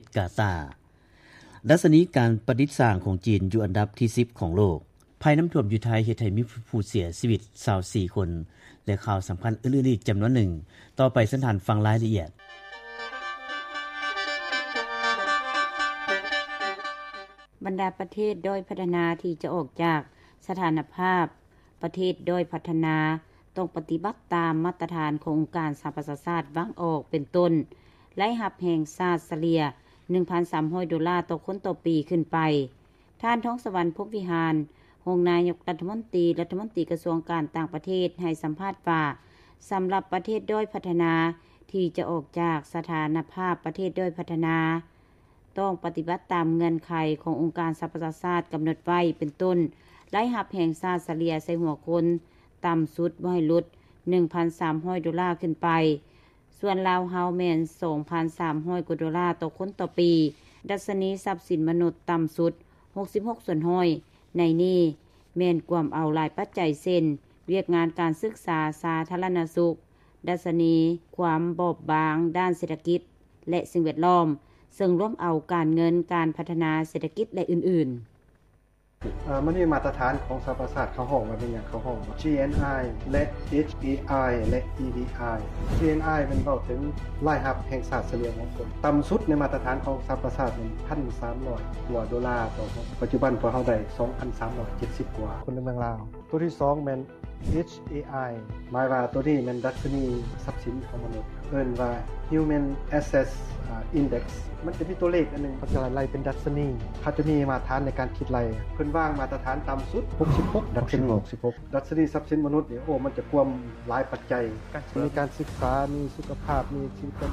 ດກາຕາ. ດັດຊະນີການປະດິດສ້າງຂອງຈີນຢູ່ອັນດັບທີສິບຂອງໂລກ. ໄພນ້ຳຖ້ວມຢູ່ໄທເຮັດໃຫ້ມີຜູ້ເສຍຊີວິດຊາວສີ່ຄົນ ແລະ ຂ່າວສຳຄັນອື່ນໆອີກຈຳນວນໜຶ່ງ. ຕໍ່ໄປເຊີນທ່ານຟັງລາຍລະອຽດ. ບັນດາປະເທດດ້ອຍພັດທະນາທີ່ຈະອອກຈາກສະຖານະພາບປະເທດດ້ອຍພັດທະນາ ຕ້ອງປະຕິບັດຕາມມາດຕະຖານຂອງອົງການສະຫະປະຊາຊາດວາງອອກ ເປັນຕົ້ນ ລາຍຮັບແຫ່ງຊາດສະເລ່ຍ ໜຶ່ງພັນສາມຮ້ອຍໂດລາຕໍ່ຄົນຕໍ່ປີຂຶ້ນໄປ. ທ່ານ ທອງສະຫວັນ ພົມວິຫານ ຮອງນາຍົກລັດຖະມົນຕີ ລັດຖະມົນຕີກະຊວງການຕ່າງປະເທດ ໃຫ້ສຳພາດວ່າ ສຳລັບປະເທດດ້ອຍພັດທະນາທີ່ຈະອອກຈາກສະຖານະພາບປະເທດດ້ອຍພັດທະນາ ຕ້ອງປະຕິບັດຕາມເງື່ອນໄຂຂອງອົງການສະຫະປະຊາຊາດກຳນົດໄວ້ ເປັນຕົ້ນ ລາຍຮັບແຫ່ງຊາດສະເລ່ຍໃສ່ຫົວຄົນ ຕ່ຳສຸດບໍ່ໃຫ້ຫຼຸດ ໜຶ່ງພັນສາມຮ້ອຍໂດລາຂຶ້ນໄປ. ສ່ວນລາວເຮົາແມ່ນ ສອງພັນສາມຮ້ອຍກວ່າໂດລາຕໍ່ຄົນຕໍ່ປີ. ດັດຊະນີຊັບສິນມະນຸດຕ່ຳສຸດ ຫົກສິບຫົກສ່ວນຮ້ອຍ ໃນນີ້ແມ່ນກວມເອົາຫຼາຍປັດໄຈ ເຊັ່ນ ວຽກງານການສຶກສາສາທາລະນະສຸກ, ດັດຊະນີຄວາມບອບບາງດ້ານເສດຖະກິດ ແລະ ສິ່ງແວດລ້ອມ, ເຊິ່ງລວມເອົາການເງິນ, ການພັດທະນາເສດຖະກິດ ແລະ ອື່ນໆ. ເອີ່ ມັນມີມາດຕະຖານຂອງສະຫະປະຊາຊາດ ເຂົາຮ້ອງວ່າແມ່ນຫຍັງ? ເຂົາຮ້ອງວ່າ ຈີ ເອັນ ໄອ ແລະ ເອັດ ເອ ໄອ ແລະ ອີ ດີ ໄອ. ຈີ ເອັນ ໄອ ແມ່ນເວົ້າເຖິງລາຍຮັບແຫ່ງຊາດສະເລ່ຍຂອງຄົນ ຕ່ຳສຸດໃນມາດຕະຖານຂອງສະຫະປະຊາຊາດແມ່ນ ໜຶ່ງພັນສາມຮ້ອຍກວ່າໂດລາຕໍ່ຄົນ, ປັດຈຸບັນພວກເຮົາໄດ້ ສອງພັນສາມຮ້ອຍເຈັດສິບກວ່າຄົນໃນເມືອງລາວ. ຕົວທີສອງແມ່ນ ເອັດ ເອັດ ເອັດ ເອ ໄອ ໝາຍວ່າໂຕນີ້ແມ່ນດັດຊະນີຊັບສິນຂອງມະນຸດ ເອີ້ນວ່າ Human Asset Index. ມັນຈະມີຕົວເລກອັນໜຶ່ງ ເຂົາຈະໄລ່ເປັນດັດຊະນີ ເຂົາຈະມີມາດຕະຖານໃນການຄິດໄລ່. ເພິ່ນວາງມາດຕະຖານຕ່ຳສຸດ ຫົກສິບຫົກ ດັດຊະນີ ຫົກສິບຫົກ. ດັດຊະນີຊັບສິນມະນຸດນີ້ ໂອ້ ມັນຈະກວມຫຼາຍປັດໄຈ ມີການສຶກສາ ມີສຸຂະພາບ ມີຊີວິດ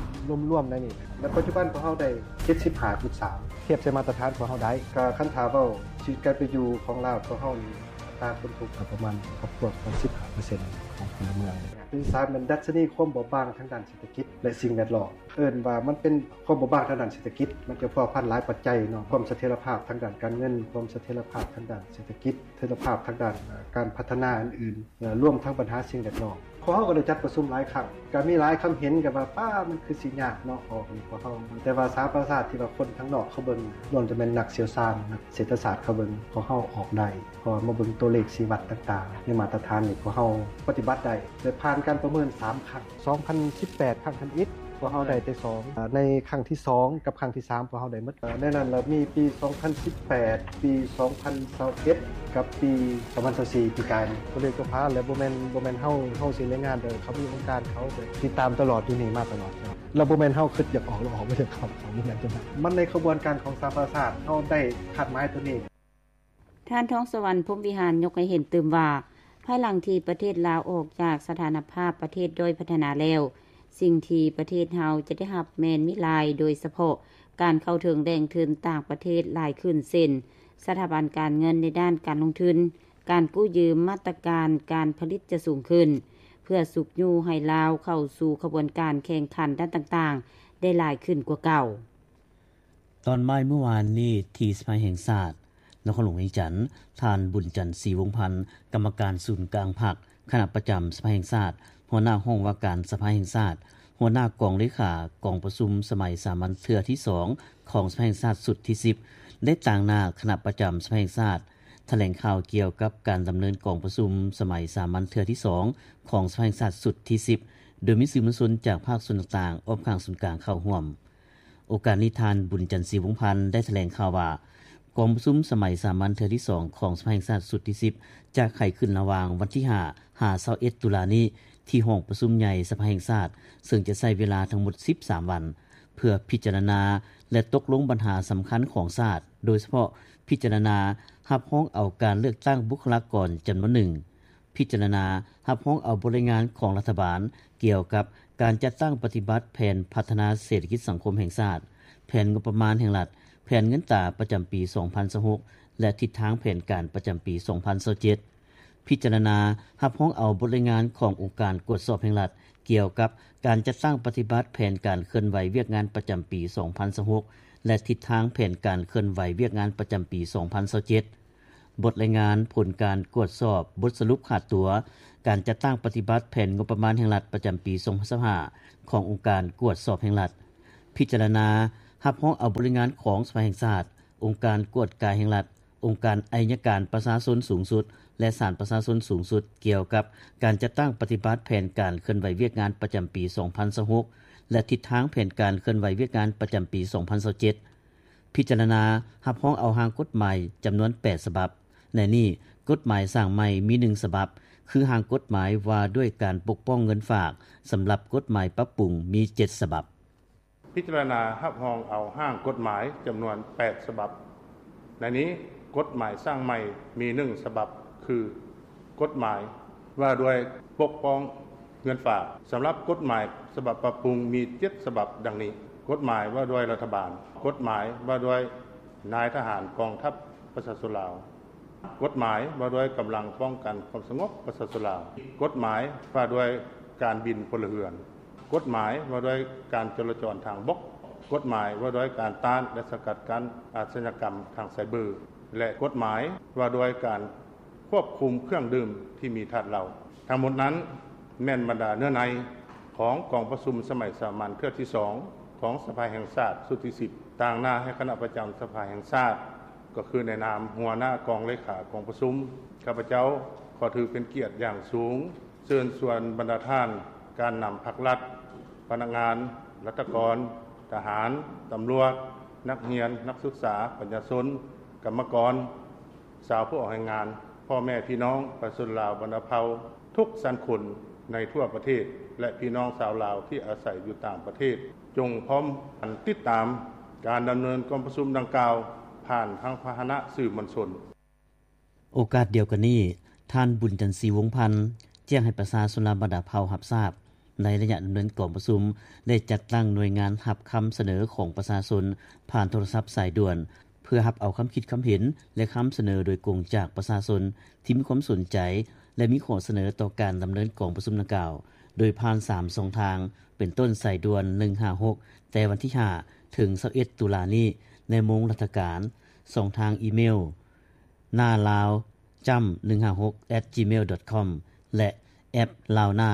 ລວມໆໃນນີ້. ແລະ ປັດຈຸບັນພວກເຮົາໄດ້ ເຈັດສິບຫ້າຈຸດສາມ ທຽບໃສ່ມາດຕະຖານພວກເຮົາໄດ້. ກໍຄັນຖ້າເວົ້າຊີວິດການເປັນຢູ່ຂອງລາວພວກເຮົານີ້ ອັດຕາຄົນທຸກປະມານ ຄອບຄົວປະມານ ສິບຫ້າເປີເຊັນຂອງພົນລະເມືອງ. ທີສາມແມ່ນດັດຊະນີຄວາມບອບບາງທາງດ້ານເສດຖະກິດ ແລະ ສິ່ງແວດລ້ອມ ເອີ້ນວ່າມັນເປັນຄວາມບອບບາງທາງດ້ານເສດຖະກິດ ມັນຈະພົວພັນຫຼາຍປັດໄຈເນາະ ຄວາມສະເຖັຍລະພາບທາງດ້ານການເງິນ ຄວາມສະເຖັຍລະພາບທາງດ້ານເສດຖະກິດ ສະເຖັຍລະພາບທາງດ້ານການພັດທະນາອື່ນໆ ລວມທັງບັນຫາສິ່ງແວດລ້ອມ. ພວກເຮົາກໍໄດ້ຈັດປະຊຸມຫຼາຍຄັ້ງ ກໍມີຫຼາຍຄຳເຫັນກັນວ່າ ປ້າ ມັນຄືຊິຍາກເນາະ ອອກນີ້ພວກເຮົາ ແຕ່ວ່າສະຫະປະຊາຊາດທີ່ວ່າຄົນທາງນອກເຂົາເບິ່ງ ລ້ວນແຕ່ແມ່ນນັກຊ່ຽວຊານ ນັກເສດຖະສາດເຂົາເບິ່ງ ພວກເຮົາອອກໄດ້ ເພາະວ່າມາເບິ່ງຕົວເລກຊີ້ວັດຕ່າງໆ ໃນມາດຕະຖານນີ້ ພວກເຮົາປະຕິບັດໄດ້ ແລະ ຜ່ານການປະເມີນສາມຄັ້ງ ສອງພັນສິບແປດ ຄັ້ງທຳອິດ ພວກເຮົາໄດ້ແຕ່ສອງ ໃນຄັ້ງທີສອງກັບຄັ້ງທີສາມ ພວກເຮົາໄດ້ໝົດ. ໃນນັ້ນລະມີປີສອງພັນສິບແປດ ປີສອງພັນຊາວເອັດ ກັບປີສອງພັນຊາວສີ່ ປີກາຍນີ້. ຕົວເລກຕົວພາ ແລະ ບໍ່ແມ່ນ ບໍ່ແມ່ນເຮົາ ເຮົາຊິລາຍງານເດີ ເຂົາມີອົງການເຂົາ ແລະ ຕິດຕາມຕະຫຼອດຢູ່ນີ້ມາຕະຫຼອດ ແລ້ວບໍ່ແມ່ນເຮົາຄິດຢາກອອກ ແລ້ວອອກ ບໍ່ຢາກເຂົ້າ ເຂົາບໍ່ແມ່ນຈັ່ງນັ້ນ ມັນໃນຂະບວນການຂອງສະຫະປະຊາຊາດ ເຮົາໄດ້ຄາດໝາຍຕົວນີ້. ທ່ານ ທອງສະຫວັນ ພົມວິຫານ ຍົກໃຫ້ເຫັນຕື່ມວ່າ ພາຍຫຼັງທີ່ປະເທດລາວອອກຈາກສະຖານະພາບປະເທດດ້ອຍພັດທະນາແລ້ວ, ສິ່ງທີ່ປະເທດເຮົາຈະໄດ້ຮັບແມ່ນມີຫຼາຍ, ໂດຍສະເພາະການເຂົ້າເຖິງແຫຼ່ງທຶນຕ່າງປະເທດຫຼາຍຂຶ້ນ ເຊັ່ນ ສະຖາບັນການເງິນໃນດ້ານການລົງທຶນ, ການກູ້ຢືມ, ມາດຕະການການຜະລິດຈະສູງຂຶ້ນ ເພື່ອຊຸກຍູ້ໃຫ້ລາວເຂົ້າສູ່ຂະບວນການແຂ່ງຂັນດ້ານຕ່າງໆ ໄດ້ຫຼາຍຂຶ້ນກວ່າເກົ່າ. ຕອນບ່າຍມື້ວານນີ້ ທີ່ສະພາແຫ່ງຊາດ ນະຄອນຫຼວງວຽງຈັນ, ທ່ານ ບຸນຈັນ ສີວົງພັນ ກຳມະການສູນກາງພັກ, ຄະນະປະຈຳສະພາແຫ່ງຊາດ, ຫົວໜ້າຫ້ອງວ່າການສະພາແຫ່ງຊາດ, ຫົວໜ້າກອງເລຂາກອງປະຊຸມສະໄໝສາມັນເທື່ອທີສອງຂອງສະພາແຫ່ງຊາດຊຸດທີສິບ ໄດ້ຕາງໜ້າຄະນະປະຈຳສະພາແຫ່ງຊາດ ຖະແຫຼງຂ່າວກ່ຽວກັບການດຳເນີນກອງປະຊຸມສະໄໝສາມັນເທື່ອທີສອງຂອງສະພາແຫ່ງຊາດຊຸດທີສິບ ໂດຍມີສື່ມວນຊົນຈາກພາກສ່ວນຕ່າງໆ ອ້ອມຂ້າງສູນກາງເຂົ້າຮ່ວມ. ໂອກາດນີ້ທ່ານ ບຸນຈັນ ສີວົງພັນ ໄດ້ຖະແຫຼງຂ່າວວ່າ ກອງປະຊຸມສະໄໝສາມັນເທື່ອທີສອງຂອງສະພາແຫ່ງຊາດຊຸດທີສິບ ຈະໄຂຂຶ້ນລະຫວ່າງວັນທີຫ້າ ຫາ ຊາວເອັດ ຕຸລານີ້ ທີ່ຫ້ອງປະຊຸມໃຫຍ່ສະພາແຫ່ງຊາດ ເຊິ່ງຈະໃຊ້ເວລາທັງໝົດສິບສາມວັນ ເພື່ອພິຈາລະນາ ແລະ ຕົກລົງບັນຫາສຳຄັນຂອງຊາດ, ໂດຍສະເພາະພິຈາລະນາຮັບຮອງເອົາການເລືອກຕັ້ງບຸກຄະລາກອນຈຳນວນໜຶ່ງ, ພິຈາລະນາຮັບຮອງເອົາບົດລາຍງານຂອງລັດຖະບານກ່ຽວກັບການຈັດຕັ້ງປະຕິບັດແຜນພັດທະນາເສດຖະກິດສັງຄົມແຫ່ງຊາດ, ແຜນງົບປະມານແຫ່ງລັດ, ແຜນເງິນຕາປະຈຳປີສອງພັນຊາວຫົກ ແລະ ທິດທາງແຜນການປະຈຳປີສອງພັນຊາວເຈັດ. ພິຈາລະນາຮັບຮອງເອົາບົດລາຍງານຂອງອົງການກວດສອບແຫ່ງລັດ ກ່ຽວກັບການຈັດຕັ້ງປະຕິບັດແຜນການເຄື່ອນໄຫວວຽກງານປະຈຳປີສອງພັນຊາວຫົກ ແລະ ທິດທາງແຜນການເຄື່ອນໄຫວວຽກງານປະຈຳປີສອງພັນຊາວເຈັດ. ບົດລາຍງານຜົນການກວດສອບ, ບົດສະຫຼຸບຂາດຕົວ, ການຈັດຕັ້ງປະຕິບັດແຜນງົບປະມານແຫ່ງລັດປະຈຳປີສອງພັນຊາວຫ້າ ຂອງອົງການກວດສອບແຫ່ງລັດ, ພິຈາລະນາ ຮັບຮອງເອົາບົດລາຍງານຂອງສະພາແຫ່ງຊາດ, ອົງການກວດກາແຫ່ງລັດ, ອົງການໄອຍະການປະຊາຊົນສູງສຸດ ແລະ ສານປະຊາຊົນສູງສຸດ ກ່ຽວກັບການຈັດຕັ້ງປະຕິບັດແຜນການເຄື່ອນໄຫວວຽກງານປະຈຳປີສອງພັນຊາວຫົກ ແລະ ທິດທາງແຜນການເຄື່ອນໄຫວວຽກງານປະຈຳປີສອງພັນຊາວເຈັດ. ພິຈາລະນາຮັບຮອງເອົາຮ່າງກົດໝາຍຈຳນວນແປດສະບັບ. ໃນນີ້, ກົດໝາຍສ້າງໃໝ່ມີໜຶ່ງສະບັບ, ຄືຮ່າງກົດໝາຍວ່າດ້ວຍການປົກປ້ອງເງິນຝາກ, ສຳລັບກົດໝາຍປັບປຸງມີເຈັດສະບັບ. ພິຈາລະນາຮັບຮອງເອົາຮ່າງກົດໝາຍຈຳນວນແປດສະບັບ. ໃນນີ້, ກົດໝາຍສ້າງໃໝ່ມີໜຶ່ງສະບັບ, ຄື ກົດໝາຍວ່າດ້ວຍປົກປ້ອງເງິນຝາກ. ສຳລັບກົດໝາຍສະບັບປັບປຸງມີເຈັດສະບັບດັ່ງນີ້: ກົດໝາຍວ່າດ້ວຍລັດຖະບານ, ກົດໝາຍວ່າດ້ວຍນາຍທະຫານກອງທັບປະຊາຊົນລາວ, ກົດໝາຍວ່າດ້ວຍກຳລັງປ້ອງກັນຄວາມສະຫງົບປະຊາຊົນລາວ, ກົດໝາຍວ່າດ້ວຍການບິນພົນລະເຮືອນ, ກົດໝາຍວ່າດ້ວຍການຈະລາຈອນທາງບົກ, ກົດໝາຍວ່າດ້ວຍການຕ້ານ ແລະ ສະກັດກັ້ນອາຊະຍາກຳທາງໄຊເບີ ແລະ ກົດໝາຍວ່າດ້ວຍການຄວບຄຸມເຄື່ອງດື່ມທີ່ມີທາດເຫຼົ້າ. ທັງໝົດນັ້ນແມ່ນບັນດາເນື້ອໃນຂອງກອງປະຊຸມສະໄໝສາມັນເທື່ອທີສອງຂອງສະພາແຫ່ງຊາດຊຸດທີສິບ ຕາງໜ້າໃຫ້ຄະນະປະຈຳສະພາແຫ່ງຊາດ ກໍຄືໃນນາມຫົວໜ້າກອງເລຂາກອງປະຊຸມ, ຂ້າພະເຈົ້າຂໍຖືເປັນກຽດຢ່າງສູງ ເຊີນຊວນບັນດາທ່ານການນຳພັກລັດ, ພະນັກງານ, ລັດຖະກອນ, ທະຫານ, ຕຳຫຼວດ, ນັກຮຽນ, ນັກສຶກສາ, ປະຊາຊົນ, ກຳມະກອນ, ຊາວຜູ້ອອກແຮງງານ, ພໍ່ແມ່ພີ່ນ້ອງປະຊາຊົນລາວບັນດາເຜົ່າທຸກຊັ້ນຄົນໃນທົ່ວປະເທດ ແລະ ພີ່ນ້ອງຊາວລາວທີ່ອາໄສຢູ່ຕ່າງປະເທດ, ຈົ່ງພ້ອມກັນຕິດຕາມການດຳເນີນກອງປະຊຸມດັ່ງກ່າວ ຜ່ານທາງພາຫະນະສື່ມວນຊົນ. ໂອກາດດຽວກັນນີ້, ທ່ານ ບຸນຈັນສີ ວົງພັນ ແຈ້ງໃຫ້ປະຊາຊົນລາວບັນດາເຜົ່າຮັບຊາບ, ໃນໄລຍະດຳເນີນກອງປະຊຸມ ໄດ້ຈັດຕັ້ງໜ່ວຍງານຮັບຄຳສະເໜີຂອງປະຊາຊົນຜ່ານໂທລະສັບສາຍດ່ວນ ເພື່ອຮັບເອົາຄຳຄິດຄຳເຫັນ ແລະ ຄຳສະເໜີໂດຍກົງຈາກປະຊາຊົນທີ່ມີຄວາມສົນໃຈ ແລະ ມີຂໍ້ສະເໜີຕໍ່ການດຳເນີນກອງປະຊຸມດັ່ງກ່າວ ໂດຍຜ່ານສາມຊ່ອງທາງ ເປັນຕົ້ນສາຍດ່ວນໜຶ່ງຫ້າຫົກ ແຕ່ວັນທີຫ້າ ເຖິງຊາວເອັດ ຕຸລານີ້ ໃນໂມງລັດຖະການ, ຊ່ອງທາງອີເມວ ນາລາວຈ້ຳໜຶ່ງຫ້າຫົກ ແອັດຈີເມວດອດຄອມ ແລະ ແອັບລາວນາ.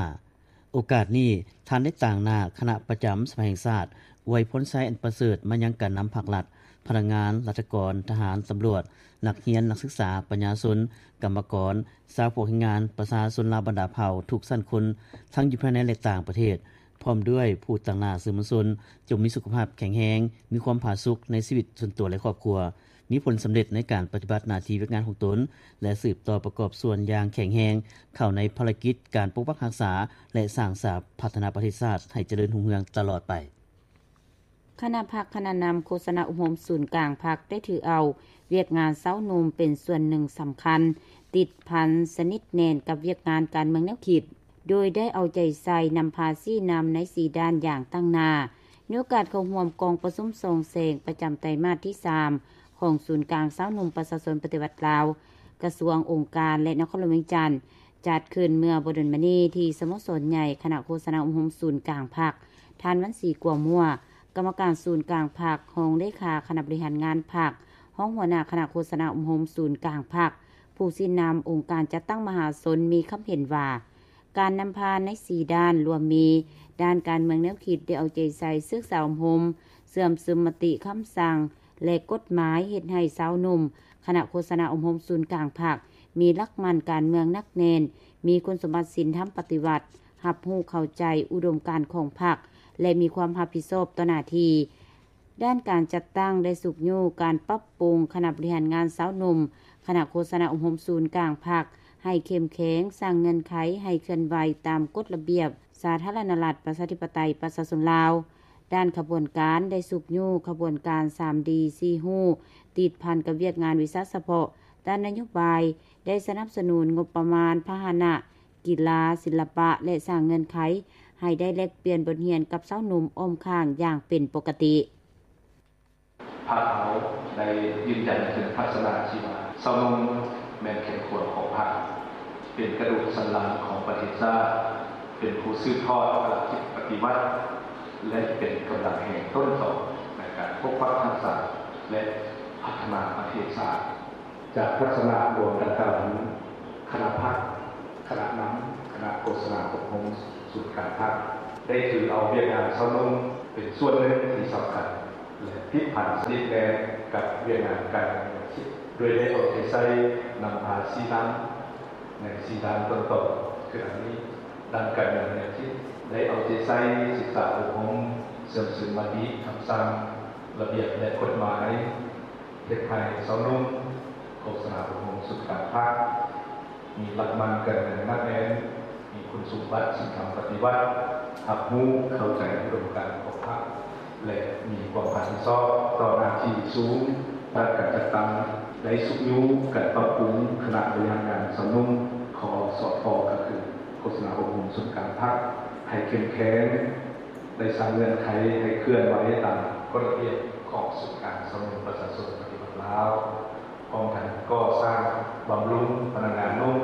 ໂອກາດນີ້, ທ່ານໄດ້ຕາງໜ້າຄະນະປະຈຳສະພາແຫ່ງຊາດ ອວຍພອນໄຊອັນປະເສີດມາຍັງການນຳພັກລັດ, ພະນັກງານ, ລັດຖະກອນ, ທະຫານ, ຕຳຫຼວດ, ນັກຮຽນ, ນັກສຶກສາ, ປະຊາຊົນ, ກຳມະກອນ, ຊາວພວກແຮງງານ, ປະຊາຊົນລາວບັນດາເຜົ່າທຸກຊັ້ນຄົນ, ທັງຢູ່ພາຍໃນ ແລະ ຕ່າງປະເທດ, ພ້ອມດ້ວຍຜູ້ຕາງໜ້າສື່ມວນຊົນ, ຈົ່ງມີສຸຂະພາບແຂງແຮງ, ມີຄວາມຜາສຸກໃນຊີວິດສ່ວນຕົວ ແລະ ຄອບຄົວ, ມີຜົນສຳເລັດໃນການປະຕິບັດໜ້າທີ່ວຽກງານຂອງຕົນ ແລະ ສືບຕໍ່ປະກອບສ່ວນຢ່າງແຂງແຮງເຂົ້າໃນພາລະກິດການປົກປັກຮັກສາ ແລະ ສ້າງສາພັດທະນາປະເທດຊາດໃຫ້ຈະເລີນຮຸ່ງເຮືອງຕະຫຼອດໄປ. ຄະນະພັກ, ຄະນະນຳ, ໂຄສະນາອົບຮົມສູນກາງພັກ ໄດ້ຖືເອົາວຽກງານຊາວໜຸ່ມເປັນສ່ວນໜຶ່ງສຳຄັນ, ຕິດພັນສະໜິດແໜ້ນກັບວຽກງານການເມືອງແນວຄິດ, ໂດຍໄດ້ເອົາໃຈໃສ່ນຳພາຊີ້ນຳໃນສີ່ດ້ານຢ່າງຕັ້ງໜ້າ. ໃນໂອກາດເຂົ້າຮ່ວມກອງປະຊຸມສ່ອງແສງປະຈຳໄຕມາດທີສາມ ຂອງສູນກາງຊາວໜຸ່ມປະຊາຊົນປະຕິວັດລາວ ກະຊວງ, ອົງການ ແລະ ນະຄອນຫຼວງວຽງຈັນ ຈັດຂຶ້ນເມື່ອບໍ່ດົນມານີ້ທີ່ສະໂມສອນໃຫຍ່ຄະນະໂຄສະນາອົບຮົມສູນກາງພັກ, ທ່ານ ວັນສີ ກົວມົວ ກຳມະການສູນກາງພັກ, ຮອງເລຂາຄະນະບໍລິຫານງານພັກ, ຮອງຫົວໜ້າຄະນະໂຄສະນາອົບຮົມສູນກາງພັກ, ຜູ້ຊີ້ນຳອົງການຈັດຕັ້ງມະຫາຊົນ ມີຄຳເຫັນວ່າ ການນຳພາໃນສີ່ດ້ານ ລວມມີ ດ້ານການເມືອງແນວຄິດ ໄດ້ເອົາໃຈໃສ່ສຶກສາອົບຮົມ, ເຊື່ອມຊຶມມະຕິ, ຄຳສັ່ງ ແລະ ກົດໝາຍ ເຮັດໃຫ້ຊາວໜຸ່ມຄະນະໂຄສະນາອົບຮົມສູນກາງພັກ ມີຫຼັກໝັ້ນການເມືອງໜັກແໜ້ນ, ມີຄຸນສົມບັດສິນທຳປະຕິວັດ, ຮັບຮູ້ເຂົ້າໃຈອຸດົມການຂອງພັກ ແລະ ມີຄວາມຮັບຜິດຊອບຕໍ່ໜ້າທີ່. ດ້ານການຈັດຕັ້ງໄດ້ຊຸກຍູ້ການປັບປຸງຄະນະບໍລິຫານງານຊາວໜຸ່ມຄະນະໂຄສະນາອົບຮົມສູນກາງພັກ ໃຫ້ເຂັ້ມແຂງ, ສ້າງເງື່ອນໄຂໃຫ້ເຄື່ອນໄຫວຕາມກົດລະບຽບສາທາລະນະລັດ ປະຊາທິປະໄຕ ປະຊາຊົນລາວ. ດ້ານຂະບວນການໄດ້ຊຸກຍູ້ຂະບວນການສາມດີສີ່ຮູ້ ຕິດພັນກັບວຽກງານວິຊາສະເພາະ, ດ້ານນະໂຍບາຍໄດ້ສະໜັບສະໜູນງົບປະມານ, ພາຫະນະ, ກິລາ, ສິລະປະ ແລະ ສ້າງເງື່ອນໄຂໃຫ້ໄດ້ແລກປ່ຽນບົດຮຽນກັບຊາວໜຸ່ມອ້ອມຂ້າງຢ່າງເປັນປົກກະຕິ. ພັກເຮົາໄດ້ຢືນຢັນເຖິງທັດສະນະທີ່ວ່າ ຊາວໜຸ່ມແມ່ນແກ່ນຂວນຂອງພັກ, ເປັນກະດູກສັນຫຼັງຂອງປະເທດຊາດ, ເປັນຜູ້ສືບທອດພາລະກິດປະຕິວັດ ແລະ ເປັນກຳລັງແຮງຕົ້ນຕໍໃນການປົກປັກຮັກສາ ແລະ ພັດທະນາປະເທດຊາດ. ຈາກທັດສະນະລວມດັ່ງກ່າວນີ້, ຄະນະພັກ, ຄະນະນຳ, ຄະນະໂຄສະນາອົບຮົມສູນກາງພັກ ໄດ້ຖືເອົາວຽກງານຊາວໜຸ່ມເປັນສ່ວນໜຶ່ງທີ່ສຳຄັນ ແລະ ຜິດພາດສະນິດແນ່ກັບວຽກງານການເງິນຢ່າງຊີ້ ໂດຍໄດ້ເອົາໃຈໃສ່ນຳພາຊີ້ນຳໃນສີ່ດ້ານຕົ້ນຕໍ. ຄືດັ່ງນີ້, ດ້ານການເງິນຢ່າງຊີ້ ໄດ້ເອົາໃຈໃສ່ສຶກສາອົບຮົມ, ເຊື່ອມຊຶມມະຕິ, ຄຳສັ່ງ, ລະບຽບ ແລະ ກົດໝາຍ, ເຮັດໃຫ້ຊາວໜຸ່ມໂຄສະນາອົບຮົມສູນກາງພັກ ມີຫຼັກໝັ້ນການເງິນໜັກແໜ້ນ, ມີຄຸນສົມບັດສິນທຳປະຕິວັດ, ຮັບຮູ້ເຂົ້າໃຈອຸດົມການຂອງພັກ ແລະ ມີຄວາມຮັບຜິດຊອບຕໍ່ໜ້າທີ່ສູງ. ດ້ານການຈັດຕັ້ງໄດ້ຊຸກຍູ້ການປັບປຸງຄະນະບໍລິຫານງານຊາວໜຸ່ມ ຄສພ ກໍຄືໂຄສະນາອົບຮົມສູນກາງພັກ ໃຫ້ເຂັ້ມແຂງ, ໄດ້ສ້າງເງື່ອນໄຂໃຫ້ເຄື່ອນໄຫວຕາມກົດລະບຽບຂອງສູນກາງຊາວໜຸ່ມປະຊາຊົນປະຕິວັດລາວ. ພ້ອມທັງກໍ່ສ້າງບຳລຸງພະນັກງານໜຸ່ມ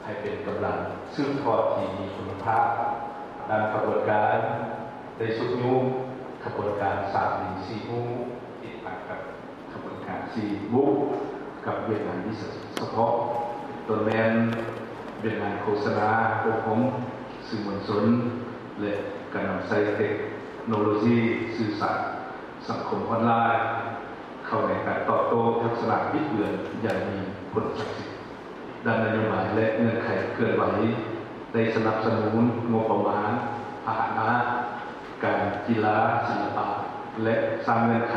ໃຫ້ເປັນກຳລັງສືບທອດທີ່ມີຄຸນນະພາບ. ດ້ານຂະບວນການໄດ້ຊຸກຍູ້ຂະບວນການສາມດີສີ່ຮູ້ ຕິດຕັ້ງກັບຂະບວນການສີ່ບຸກກັບວຽກງານວິຊາຊີບສະເພາະ ເປັນຕົ້ນແມ່ນວຽກງານໂຄສະນາ, ອົບຮົມ, ສື່ມວນຊົນ ແລະ ການນຳໃຊ້ເຕັກໂນໂລຊີສື່ສານສັງຄົມອອນລາຍ ເຂົ້າໃນການຕອບໂຕ້ທັກສະນະບິດເບືອນຢ່າງມີຜົນສັກສິດ. ດ້ານນະໂຍບາຍ ແລະ ເງື່ອນໄຂເຄື່ອນໄຫວ ໄດ້ສະໜັບສະໜູນງົບປະມານ, ພາຫະນະ, ການກິລາ, ສິລະປະ ແລະ ສ້າງເງື່ອນໄຂ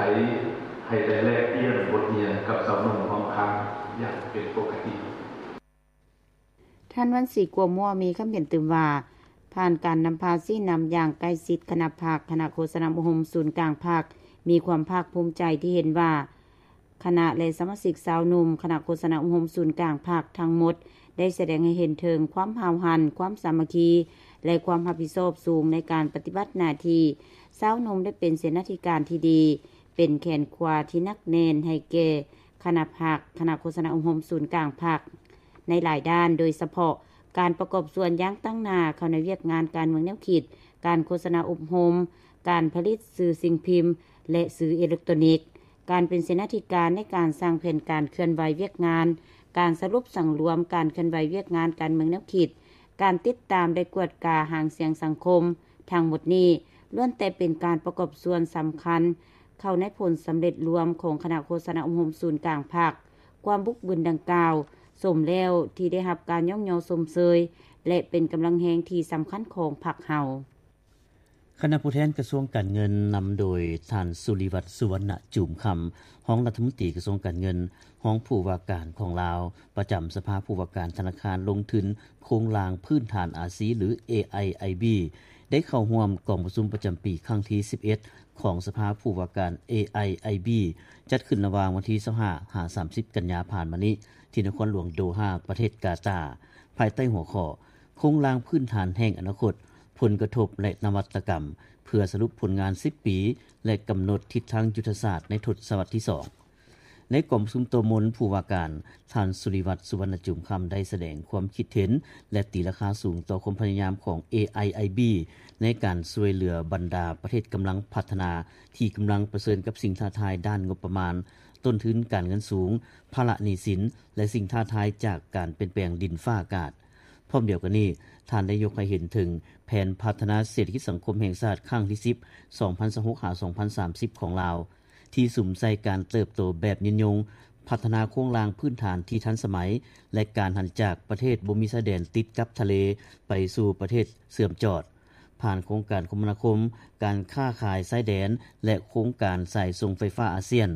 ໃຫ້ໄດ້ແລກປ່ຽນບົດຮຽນກັບຊາວໜຸ່ມຮ່ວມຂ້າງຢ່າງເປັນປົກກະຕິ. ທ່ານ ວັນສີ ກົວມົວ ມີຄຳເຫັນຕື່ມວ່າ ຜ່ານການນຳພາຊີ້ນຳຢ່າງໃກ້ຊິດຄະນະພັກ, ຄະນະໂຄສະນາອົບຮົມສູນກາງພັກ ມີຄວາມພາກພູມໃຈທີ່ເຫັນວ່າ ຄະນະ ແລະ ສະມາຊິກຊາວໜຸ່ມຄະນະໂຄສະນາອົບຮົມສູນກາງພັກທັງໝົດ ໄດ້ສະແດງໃຫ້ເຫັນເຖິງຄວາມຫ້າວຫັນ, ຄວາມສາມັກຄີ ແລະ ຄວາມຮັບຜິດຊອບສູງໃນການປະຕິບັດໜ້າທີ່. ຊາວໜຸ່ມໄດ້ເປັນເສນາທິການທີ່ດີ, ເປັນແຂນຂວາທີ່ໜັກແໜ້ນໃຫ້ແກ່ຄະນະພັກ, ຄະນະໂຄສະນາອົບຮົມສູນກາງພັກ ໃນຫຼາຍດ້ານ, ໂດຍສະເພາະການປະກອບສ່ວນຢ່າງຕັ້ງໜ້າເຂົ້າໃນວຽກງານການເມືອງແນວຄິດ, ການໂຄສະນາອົບຮົມ, ການຜະລິດສື່ສິ່ງພິມ ແລະ ສື່ເອເລັກໂຕຣນິກ, ການເປັນເສນາທິການໃນການສ້າງແຜນການເຄື່ອນໄຫວວຽກງານ, ການສະຫຼຸບສັງລວມການເຄື່ອນໄຫວວຽກງານການເມືອງແນວຄິດ, ການຕິດຕາມ ແລະ ກວດກາຫາງສຽງສັງຄົມ, ທັງໝົດນີ້ລ້ວນແຕ່ເປັນການປະກອບສ່ວນສຳຄັນເຂົ້າໃນຜົນສຳເລັດລວມຂອງຄະນະໂຄສະນາອົບຮົມສູນກາງພັກ. ຄວາມບຸກບືນດັ່ງກ່າວ ສົມແລ້ວທີ່ໄດ້ຮັບການຍ້ອງຍໍຊົມເຊີຍ ແລະ ເປັນກຳລັງແຮງທີ່ສຳຄັນຂອງພັກເຮົາ. ຄະນະຜູ້ແທນກະຊວງການເງິນ ນຳໂດຍທ່ານ ສຸລິວັດ ສຸວັນນະຈູມຄຳ ຮອງລັດຖະມົນຕີກະຊວງການເງິນ, ຮອງຜູ້ວ່າການຂອງລາວ ປະຈຳສະພາຜູ້ວ່າການທະນາຄານລົງທຶນໂຄງລ່າງພື້ນຖານອາຊີ ຫຼື ເອໄອໄອບີ ໄດ້ເຂົ້າຮ່ວມກອງປະຊຸມປະຈຳປີຄັ້ງທີສິບເອັດ ຂອງສະພາຜູ້ວ່າການ ເອໄອໄອບີ ຈັດຂຶ້ນລະຫວ່າງວັນທີຊາວຫ້າ ຫາ ສາມສິບ ກັນຍາຜ່ານມານີ້ ທີ່ນະຄອນຫຼວງໂດຮາ ປະເທດກາຕາ, ພາຍໃຕ້ຫົວຂໍ້ ໂຄງລ່າງພື້ນຖານແຫ່ງອະນາຄົດ, ຜົນກະທົບ ແລະ ນະວັດຕະກຳ ເພື່ອສະຫຼຸບຜົນງານສິບປີ ແລະ ກຳນົດທິດທາງຍຸດທະສາດໃນທົດສະວັດທີສອງ. ໃນກອງປະຊຸມໂຕະມົນ ຜູ້ວ່າການ ທ່ານ ສຸລິວັດ ສຸວັນນະຈູມຄຳ ໄດ້ສະແດງຄວາມຄິດເຫັນ ແລະ ຕີລາຄາສູງຕໍ່ຄວາມພະຍາຍາມຂອງ ເອໄອໄອບີ ໃນການຊ່ວຍເຫຼືອບັນດາປະເທດກຳລັງພັດທະນາ ທີ່ກຳລັງປະເຊີນກັບສິ່ງທ້າທາຍດ້ານງົບປະມານ, ຕົ້ນທຶນການເງິນສູງ, ພາລະໜີ້ສິນ ແລະ ສິ່ງທ້າທາຍຈາກການປ່ຽນແປງດິນຟ້າອາກາດ. ພ້ອມດຽວກັນນີ້, ທ່ານໄດ້ຍົກໃຫ້ເຫັນເຖິງແຜນພັດທະນາເສດຖະກິດສັງຄົມແຫ່ງຊາດຄັ້ງທີສິບ ສອງພັນຊາວຫົກ ຫາ ສອງພັນສາມສິບ ຂອງລາວ ທີ່ສຸມໃສ່ການເຕີບໂຕແບບຍືນຍົງ, ພັດທະນາໂຄງລ່າງພື້ນຖານທີ່ທັນສະໄໝ ແລະ ການຫັນຈາກປະເທດບໍ່ມີຊາຍແດນຕິດກັບທະເລໄປສູ່ປະເທດເຊື່ອມຈອດ, ຜ່ານໂຄງການຄົມມະນາຄົມ, ການຄ້າຂາຍຊາຍແດນ ແລະ ໂຄງການສາຍສົ່ງໄຟຟ້າອາຊຽນ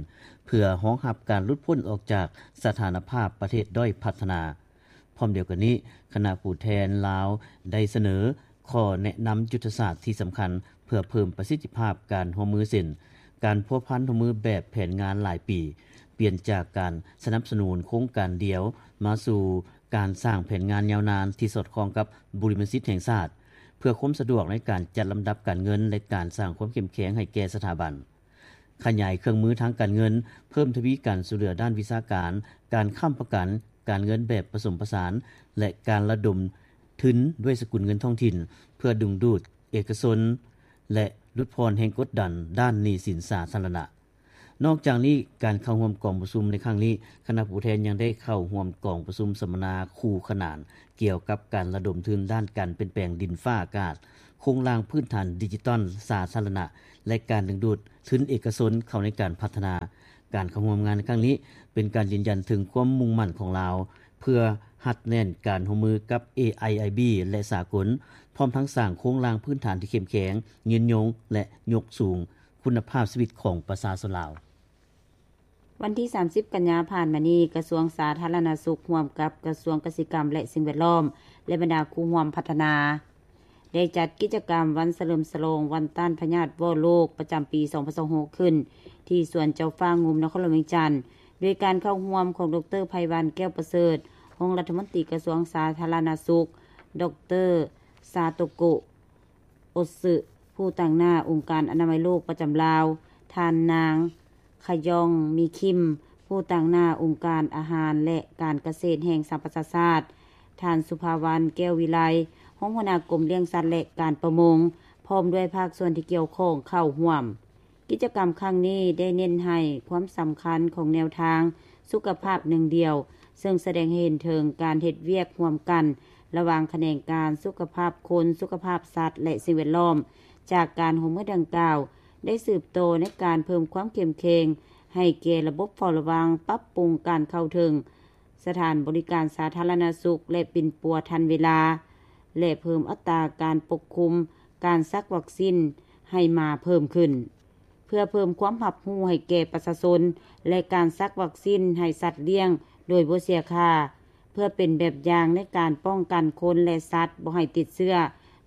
ເພື່ອຮອງຮັບການຫຼຸດພົ້ນອອກຈາກສະຖານະພາບປະເທດດ້ອຍພັດທະນາ. ພ້ອມດຽວກັນນີ້, ຄະນະຜູ້ແທນລາວໄດ້ສະເໜີຂໍ້ແນະນຳຍຸດທະສາດທີ່ສຳຄັນ ເພື່ອເພີ່ມປະສິດທິພາບການຮ່ວມມື ເຊັ່ນ ການພົວພັນຮ່ວມມືແບບແຜນງານຫຼາຍປີ, ປ່ຽນຈາກການສະໜັບສະໜູນໂຄງການດຽວ ມາສູ່ການສ້າງແຜນງານຍາວນານທີ່ສອດຄ່ອງກັບບຸລິມະສິດແຫ່ງຊາດ, ເພື່ອຄວາມສະດວກໃນການຈັດລຳດັບການເງິນ ແລະ ການສ້າງຄວາມເຂັ້ມແຂງໃຫ້ແກ່ສະຖາບັນ. ຂະຫຍາຍເຄື່ອງມືທາງການເງິນ, ເພີ່ມທະວີການຊ່ວຍເຫຼືອດ້ານວິຊາການ, ການຄ້ຳປະກັນ, ການເງິນແບບປະສົມປະສານ ແລະ ການລະດົມທຶນດ້ວຍສະກຸນເງິນທ້ອງຖິ່ນ ເພື່ອດຶງດູດເອກະຊົນ ແລະ ຫຼຸດຜ່ອນແຮງກົດດັນດ້ານໜີ້ສິນສາທາລະນະ. ນອກຈາກນີ້, ການເຂົ້າຮ່ວມກອງປະຊຸມໃນຄັ້ງນີ້, ຄະນະຜູ້ແທນຍັງໄດ້ເຂົ້າຮ່ວມກອງປະຊຸມສຳມະນາຄູ່ຂນານ ກ່ຽວກັບການລະດົມທຶນດ້ານການປ່ຽນແປງດິນຟ້າອາກາດ, ໂຄ ໂຄງລ່າງພື້ນຖານດິຈິຕອນສາທາລະນະ ແລະ ການດຶງດູດທຶນເອກະຊົນເຂົ້າໃນການພັດທະນາ. ການເຂົ້າຮ່ວມງານໃນຄັ້ງນີ້ ເປັນການຢືນຢັນເຖິງຄວາມມຸ່ງໝັ້ນຂອງລາວ ເພື່ອຮັດແໜ້ນການຮ່ວມມືກັບ ເອໄອໄອບີ ແລະ ສາກົນ, ພ້ອມທັງສ້າງໂຄງລ່າງພື້ນຖານທີ່ເຂັ້ມແຂງ, ຍືນຍົງ ແລະ ຍົກສູງຄຸນນະພາບຊີວິດຂອງປະຊາຊົນລາວ. ວັນທີສາມສິບ ກັນຍາຜ່ານມານີ້, ກະຊວງສາທາລະນະສຸກ ຮ່ວມກັບກະຊວງກະສິກຳ ແລະ ສິ່ງແວດລ້ອມ ແລະ ບັນດາຄູ່ຮ່ວມພັດທະນາ ໄດ້ຈັດກິດຈະກຳວັນສະເຫຼີມສະຫຼອງວັນຕ້ານພະຍາດວໍ້ໂລກ ປະຈຳປີສອງພັນຊາວຫົກ ຂຶ້ນທີ່ສວນເຈົ້າຟ້າງຸ່ມ ນະຄອນຫຼວງວຽງຈັນ ໂດຍການເຂົ້າຮ່ວມຂອງ ດຣ ໄພວັນ ແກ້ວປະເສີດ ຮອງລັດຖະມົນຕີກະຊວງສາທາລະນະສຸກ, ດຣ ຊາໂຕໂກະ ອົດຊຶ ຜູ້ຕາງໜ້າອົງການອະນາໄມໂລກປະຈຳລາວ, ທ່ານນາງ ຂະຢອງ ມີຄິມ ຜູ້ຕາງໜ້າອົງການອາຫານ ແລະ ການກະເສດແຫ່ງສະຫະປະຊາຊາດ, ທ່ານ ສຸພາວັນ ແກ້ວວິໄລ ຮອງຫົວໜ້າກົມລ້ຽງສັດ ແລະ ການປະມົງ, ພ້ອມດ້ວຍພາກສ່ວນທີ່ກ່ຽວຂ້ອງເຂົ້າຮ່ວມ. ກິດຈະກຳຄັ້ງນີ້ໄດ້ເນັ້ນໃຫ້ຄວາມສຳຄັນຂອງແນວທາງສຸຂະພາບໜຶ່ງດຽວ, ເຊິ່ງສະແດງໃຫ້ເຫັນເຖິງການເຮັດວຽກຮ່ວມກັນລະຫວ່າງຂະແໜງການສຸຂະພາບຄົນ, ສຸຂະພາບສັດ ແລະ ສິ່ງແວດລ້ອມ. ຈາກການຮ່ວມມືດັ່ງກ່າວ ໄດ້ສືບຕໍ່ໃນການເພີ່ມຄວາມເຂັ້ມແຂງໃຫ້ແກ່ລະບົບເຝົ້າລະວັງ, ປັບປຸງການເຂົ້າເຖິງສະຖານບໍລິການສາທາລະນະສຸກ ແລະ ປິ່ນປົວທັນເວລາ ແລະ ເພີ່ມອັດຕາການປົກຄຸມການສັກວັກຊີນໃຫ້ໝາເພີ່ມຂຶ້ນ. ເພື່ອເພີ່ມຄວາມຮັບຮູ້ໃຫ້ແກ່ປະຊາຊົນ ແລະ ການສັກວັກຊີນໃຫ້ສັດລ້ຽງໂດຍບໍ່ເສຍຄ່າ, ເພື່ອເປັນແບບຢ່າງໃນການປ້ອງກັນຄົນ ແລະ ສັດບໍ່ໃຫ້ຕິດເຊື້ອ.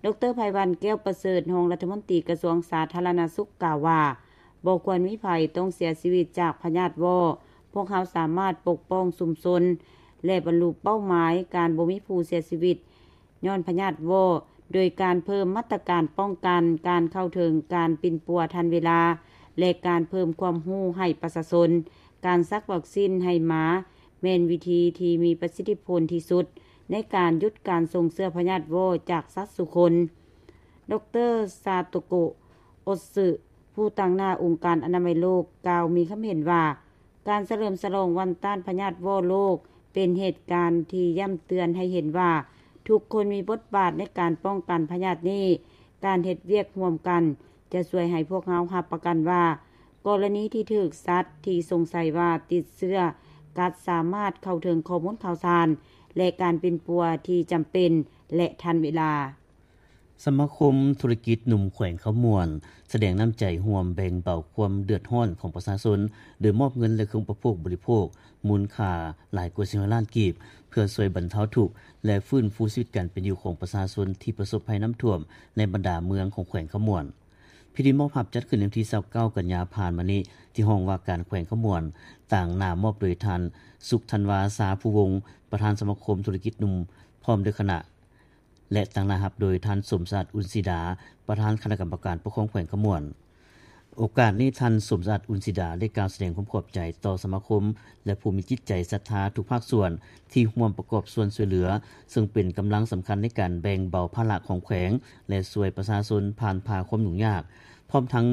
ດຣ ໄພວັນ ແກ້ວປະເສີດ ຮອງລັດຖະມົນຕີກະຊວງສາທາລະນະສຸກ ກ່າວວ່າ ບໍ່ຄວນມີໃຜຕ້ອງເສຍຊີວິດຈາກພະຍາດວໍ້. ພວກເຮົາສາມາດປົກປ້ອງຊຸມຊົນ ແລະ ບັນລຸເປົ້າໝາຍການບໍ່ມີຜູ້ເສຍຊີວິດ ຍ້ອນພະຍາດວໍ້ ໂດຍການເພີ່ມມາດຕະການປ້ອງກັນ, ການເຂົ້າເຖິງການປິ່ນປົວທັນເວລາ ແລະ ການເພີ່ມຄວາມຮູ້ໃຫ້ປະຊາຊົນ. ການສັກວັກຊີນໃຫ້ໝາແມ່ນວິທີທີ່ມີປະສິດທິຜົນທີ່ສຸດໃນການຢຸດການສົ່ງເຊື້ອພະຍາດວໍ້ຈາກສັດສູ່ຄົນ. ດຣ ຊາໂຕໂກະ ອົດຊຶ ຜູ້ຕາງໜ້າອົງການອະນາໄມໂລກ ກ່າວມີຄຳເຫັນວ່າ ການສະເຫຼີມສະຫຼອງວັນຕ້ານພະຍາດວໍ້ໂລກ ເປັນເຫດການທີ່ຢ້ຳເຕືອນໃຫ້ເຫັນວ່າ ທຸກຄົນມີບົດບາດໃນການປ້ອງກັນພະຍາດນີ້. ການເຮັດວຽກຮ່ວມກັນຈະຊ່ວຍໃຫ້ພວກເຮົາຮັບປະກັນວ່າ ກໍລະນີທີ່ຖືກສັດທີ່ສົງໄສວ່າຕິດເຊື້ອກັດ ສາມາດເຂົ້າເຖິງຂໍ້ມູນຂ່າວສານ ແລະ ການປິ່ນປົວທີ່ຈຳເປັນ ແລະ ທັນເວລາ. ສະມາຄົມທຸລະກິດໜຸ່ມແຂວງຄຳມ່ວນ ສະແດງນ້ຳໃຈຮ່ວມແບ່ງເບົາຄວາມເດືອດຮ້ອນຂອງປະຊາຊົນ ໂດຍມອບເງິນ ແລະ ເຄື່ອງອຸປະໂພກບໍລິໂພກ ມູນຄ່າຫຼາຍກວ່າສີ່ຮ້ອຍລ້ານກີບ ເພື່ອຊ່ວຍບັນເທົາທຸກ ແລະ ຟື້ນຟູຊີວິດການເປັນຢູ່ຂອງປະຊາຊົນທີ່ປະສົບໄພນ້ຳຖ້ວມໃນບັນດາເມືອງຂອງແຂວງຄຳມ່ວນ. ພິທີມອບຮັບຈັດຂຶ້ນໃນວັນທີຊາວເກົ້າ ກັນຍາຜ່ານມານີ້ ທີ່ຫ້ອງວ່າການແຂວງຄຳມ່ວນ, ຕາງໜ້າມອບໂດຍທ່ານ ສຸກທັນວາ ຊາພູວົງ ປະທານສະມາຄົມທຸລະກິດໜຸ່ມ ພ້ອມດ້ວຍຄະນະ ແລະ ຕາງໜ້າຮັບໂດຍທ່ານ ສົມສະອາດ ອຸ່ນສີດາ ປະທານຄະນະກຳມະການປົກຄອງແຂວງຄຳມ່ວນ. ໂອກາດນີ້ ທ່ານ ສົມສະອາດ ອຸ່ນສີດາ ໄດ້ກ່າວສະແດງຄວາມຂອບໃຈຕໍ່ສະມາຄົມ ແລະ ຜູ້ມີຈິດໃຈສັດທາທຸກພາກສ່ວນທີ່ຮ່ວມປະກອບສ່ວນຊ່ວຍເຫຼືອ, ເຊິ່ງເປັນກຳລັງສຳຄັນໃນການແບ່ງເບົາພາລະຂອງແຂວງ ແລະ ຊ່ວຍປະຊາຊົນຜ່ານຜ່າຄວາມຫຍຸ້ງຍາກ, ພ້ອມທັງ